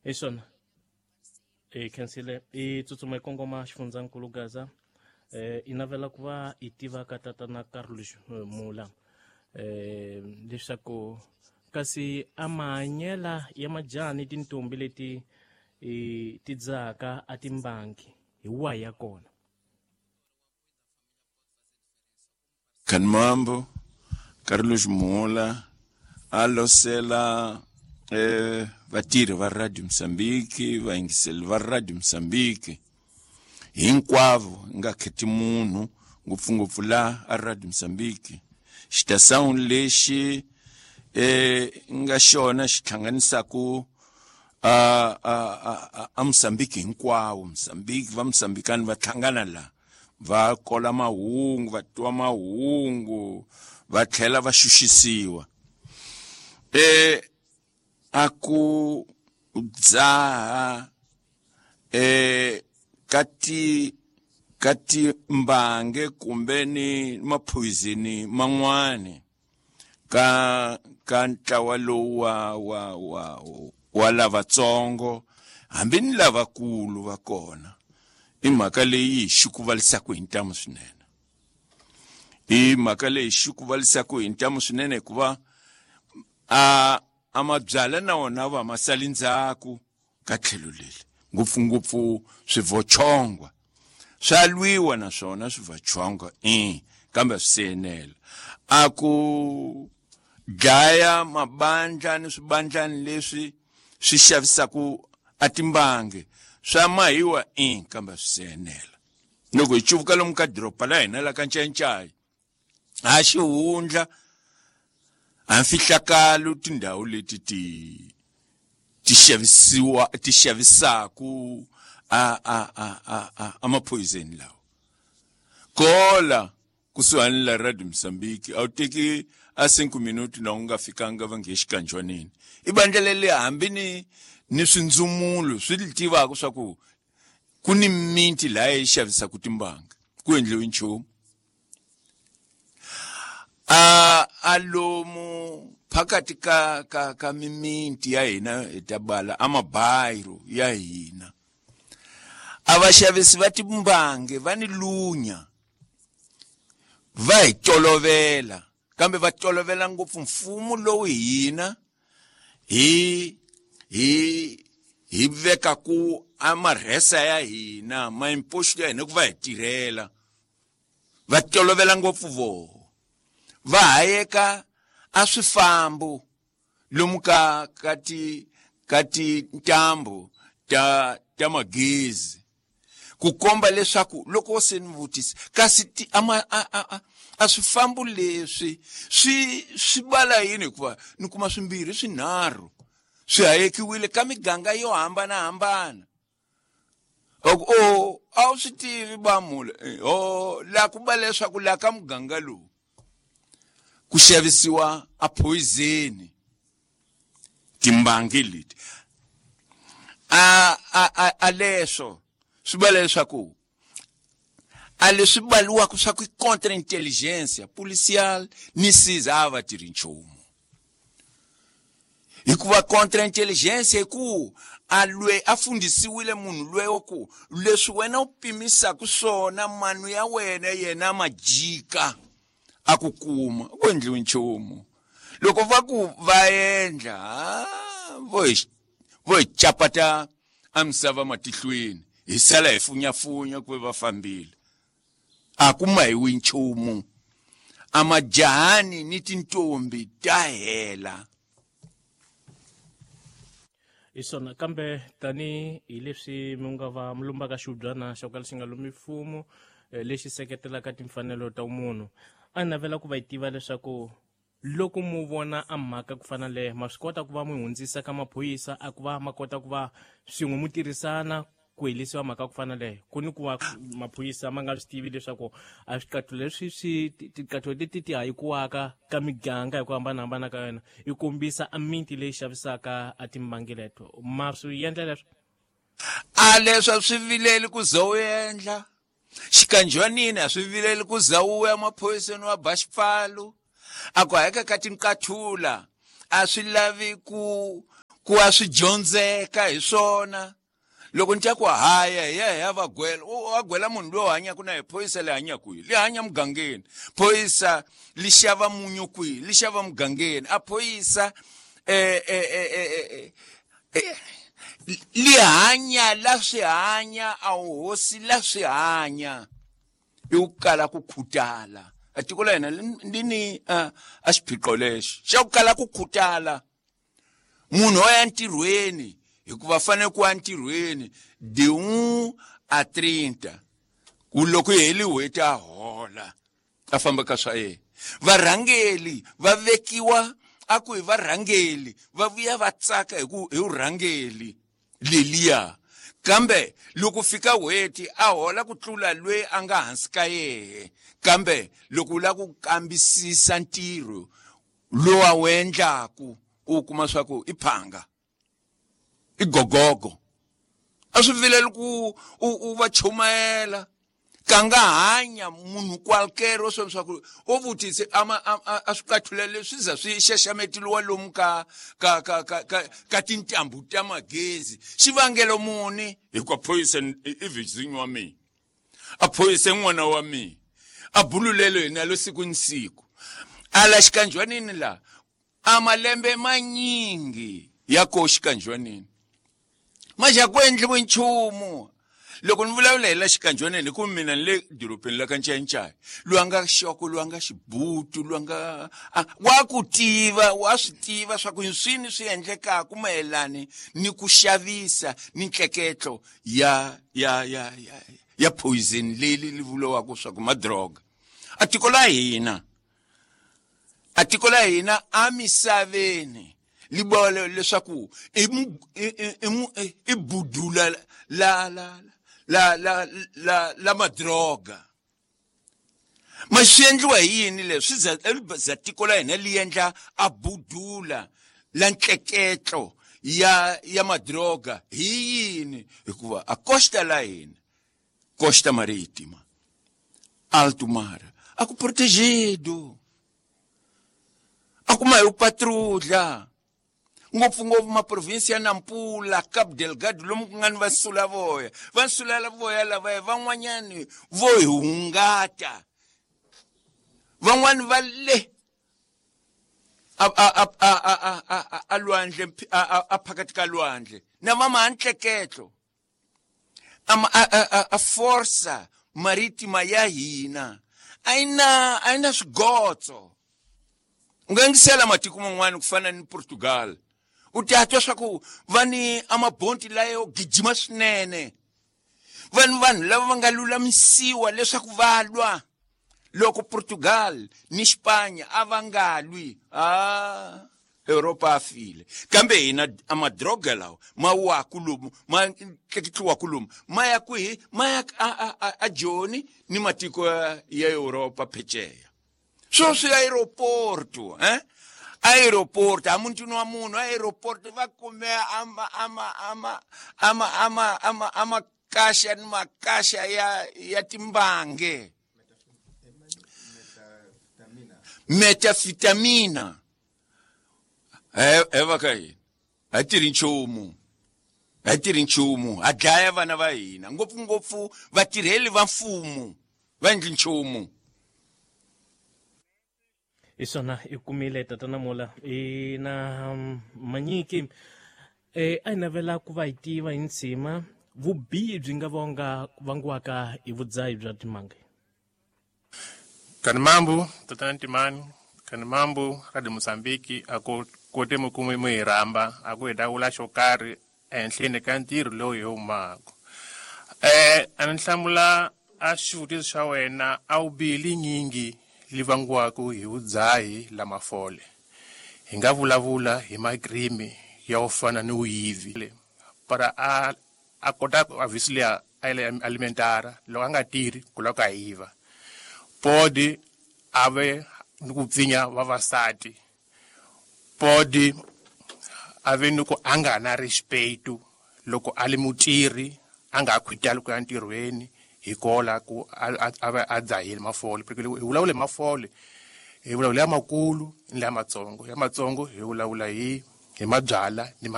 Hi swona hi khensile i tsutsuma hi kongoma xifundzankulu Gaza. I navela ku va i tiva ka tatana Carlos Mula leswaku kasi a mahanyela ya majaha ni tintombi leti ti dzahaka a timbangi hi wahi ya kona. Khanimambo Carlos Mula a losela vatirhi va Radio Mozambique, vayingiseli va Radio Mozambique hinkwavo, nga kheti munhu, ngopfungopfu la a Radio Mozambique, xitação lexi nga xona xi hlanganisaku a Mozambique hinkwawo. Mozambique va Mozambikani va hlangana la, va kola mahungu, va twa mahungu, va tlhela va xuxisiwa. A ku dzaha ka timbange kumbe ni maphoyizeni man'wani ka ntlawa lowu wa lavatsongo hambi ni lavakulu va kona, i mhaka leyi xi ku valisaka hi ntamu swinene. I mhaka leyi xi ku valisaka hi ntamu swinene hikuva a mabyala na wona va ma sali ndzhaku ka tlhelo leri, ngopfungopfu swivochongwa swa lwiwa na swona swivochongwa kambe swi se enela. A ku dlaya mabandla ni swibandlani leswi swi xavisaku a timbangi swa mahiwa kambe swi se enela. Loko hi cuvuka lomu ka doroba la hina la ka Ncayincaya, a xihundla a mfihlakalo tindhawu leti ti xavisiwa ti xavisaku a maphoyiseni lawa kola kusuhani la Radio Mozambique, a wu teki a 5 minuti na u nga fikanga va nge xikanjwanini. I bandla leri hambi ni swindzumulo swi li tivaka swa ku ku ni miti laha yi xavisaka timbanga, ku endliwi nchumu. A lomu phakathi ka mimiti ya hina hi ta bala a mabayiro ya hina, a vaxavisi va timbangi va ni lunya, va hi tolovela, kambe va tolovela ngopfu mfumo lowu hina hi vekaku a marhesa ya hina, maimposto ya hina ku va hi tirhela. Va tolovela ngopfu voho, va hayeka a swifambo lomu ka tintambu ta magezi, ku komba leswaku loko se ni vutisa kasi ti ama a swifambo leswi swi bala yini, hikuva ni kuma swimbirhi swinharhu swi hayekiwile ka miganga yo hambanahambana. O a wu swi tivi bamula o la ku ba leswaku la ka muganga lowu ku xavisiwa a poison timbangi leti a leswo swi va leswaku a leswi baliwaka swa ku contre intelligence policial ni siza a va tirhi nchumu, hikuva contre intelligence hi ku a lwe a fundisiwile munhu lweyo ku leswi wena u pimisaka swona manu ya wena yena ma jika a ku kuma ku endliwi nchumu. Loko va ku va endla vo hi chapata a misava matihlweni, hi sala hi funyafunya ku va fambile, a ku mahiwi nchumu. A majahani ni tintombi ta hela. Hi swona, kambe tani hi leswi mi nga va mi lumbaka xihubyana xa ku kala xi nga lumi mfumo lexi seketelaka timfanelo ta munhu, a navela ku va yi tiva leswaku loko mu vona a mhaka ku fana le, ma swi kota ku va mu hundzisa ka maphorisa a ku va ma kota ku va swin'we mu tirhisana ku helisiwa mhaka ku fana le, ku ni ku va maphorisa ma nga swi tivi leswaku a swiqatho leswi swi tiqatho leti ti hayikiwaka ka miganga hi ku hambanahambana ka yona yi kombisa a miti leyi xavisaka a timbangi leto, ma swi endla leswo? A leswo swi vileli ku ze u endla xikanjwanini, a swi vileli ku za u ya maphoriseni wa ba xipfalo a ku hayeka ka tinqathula, a swi lavi ku Ku a swi dyondzeka hi swona. Loko ni tya ku haya hi ya hi ya va gwela, wa gwela munhu loyi hanyaka na hi phorisa le hanya kwihi? Li hanya mugangeni. Phorisa li xava munyu kwihi? Li xava mugangeni. A phorisa li hanya la swi hanya, a hosi la swi hanya. I ku kala ku khutala. A tiko la hina li ni a xiphiqo lexi xa ku kala ku khutala. Munhu o ya ntirhweni hikuva fanele ku ya ntirhweni de 1 a 30 ku loko yi heli n'hweti a hola a famba ka swa yena. Varhangeli va vekiwa a ku hi varhangeli va vuya va tsaka hi ku hi vurhangeli leliya, kambe loko fika n'hweti a hola ku tlula loyi a nga hansi ka yehe. Kambe loko u lava ku kambisisa ntirho lowu a wu endlaku u kuma swa ku i phanga, i gogogo. A swi vileli ku u va chumayela ka nga hanya munhu qualquer o swi swa ku o vutise a swi qathula leswi za swi xaxametiwa lomu ka ka ka ka ka ka tintambu ta magezi. Xivangelo muni? Hikuva phorisa i vizinyo wa mina, a phorisa n'wana wa mina, a bululelo hina lo siku ni siku. Ala xikanjwanini la a malembe manyingi ya ko xikanjwanini ma xa ku endliwe nchumu. Loko ni vulavula hi la xikanjwanini hi ku mina ni le dorobeni la ka Ncayincaya, loyi a nga xoko, loyi a nga xibutu, loyi a nga wa ku tiva, wa swi tiva swa ku swini swi endlekaka mayelani ni ku xavisa ni ntleketlo ya ya ya ya ya poison leyi li vuriwaka swa ku madroga. A tiko la hina, a tiko la hina amisaveni li vula leswaku i budula la la la la la la madroga. Ma swi endliwa hi yini leswi? Swi za tiko la hina li endla a budula la ntleketlo ya madroga hi yini? Hikuva a costa la hina, costa marítima, alto mar, a ku protegido, a kuma hi patrulha ngopfungopfu maprovinsi ya Nampula, Cabo Delgado, lomu ku nga ni vansulavoya. Vansulavoya lavaya van'wanyani vo hi hungata, van'wani va le a lwandle, a phakathi ka lwandle na va mahantleketlo a forsa marítima ya hina a yi na swigotso. U nga yingisela matiko man'wana ku fana ni Portugal, u ta twa swa ku va ni amabonti layo gijima swinene, va ni vanhu lava va nga lulamisiwa leswaku va lwa. Loko Portugal ni Spanya a va nga lwi, Europa a file. Kambe hina a madroga lawa ma waku lomu, ma tleketliwaku lomu, ma ya kwihi? Ma ya a Joni ni matiko ya Europa pheceya. Sweswi aeroporto, aeroporto a muntini wa munhu, aeroporto va kume ama kasha ni makasha ya timbange, metafitamina. Eva ka hina a tirhi nchumu, a tirhi nchumu, a dlaya vana va hina, ngopfungopfu vatirheli va mfumo va endli nchumu. Hi swona i kumile tatana Mola i na Manyiki. A hi navela ku va hi tiva hi ntshima vubihi byi nga vangiwaka hi vudzahi bya timanga. Kani mambu tatana Ntimani, kani mambu Radio Mozambique a ku kote mi kume mi hi rhamba a ku hi ta vula xo karhi ehenhleni ka ntirho lowu hi humaka. A ni hlamula a xivutiso xa wena a wu bihi linyingi li vangiwaka hi vudzahi la mafole. Hi nga vulavula hi makrimi ya ku fana ni vuyivi. Para a kota a visile a alimentara loko a nga tirhi ku lava ku a yiva. Podi a ve ni ku pfinya vavasati. Podi a ve ni ku a nga na respeto loko a li mutirhi a nga khwitali ku ya ntirhweni hikola ku a va a dzahile mafole. Porque hi vulavula hi mafole, hi vulavula ya makulu ni ya matsongo. Ya matsongo hi vulavula hi mabyala ni